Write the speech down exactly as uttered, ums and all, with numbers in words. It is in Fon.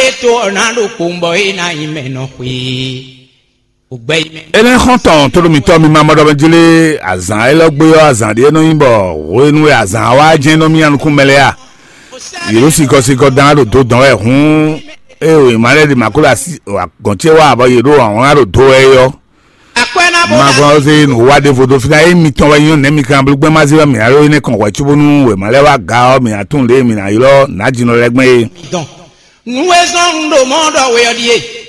Eto ɔna ɖo kpowun bɔ e na nyi mɛ nɔ xwe. O gbɛ yi mɛ. Énɛ́ xɔ́ntɔn tóɖomitɔ́ mi ma mɔ ɖɔ mɛ jlé azǎn élɔ́ gbé ɔ́, azǎn ɖé nɔ nyí bɔ hwenu e azǎn wá jɛ́n nɔ mì nukún mɛ lɛ́ɛ a? Yě ɖo sikɔsikɔ dán ɖo do dɔn wɛ hǔn, ée wěma lɛ́ɛ ɖi mǎ kó ɖo asi gɔ̌n ce wá bɔ yě ɖo awǎn ɖo do wɛ é ɔ́. Akwɛ na bɔ Ma gɔ́n ɔ́ zé nǔ wa ɖěvo dó fínɛ́, ényí mitɔn wɛ nyí nɛ̌ mi kan blú gbɛ́n má zé wɛ mǐ ná ɖó énɛ́ kɔn hwɛ̌ cóbónú wěma lɛ́ɛ wá ga ɔ́, mǐ ná tunwun lě e mǐ ná ylɔ́ nǎjínɔ lɛ́ɛ gbɛn é. Dɔn. Nǔ e zɔ́n un ɖo mɔ̌ ɖɔ we ɔ́ ɖíe.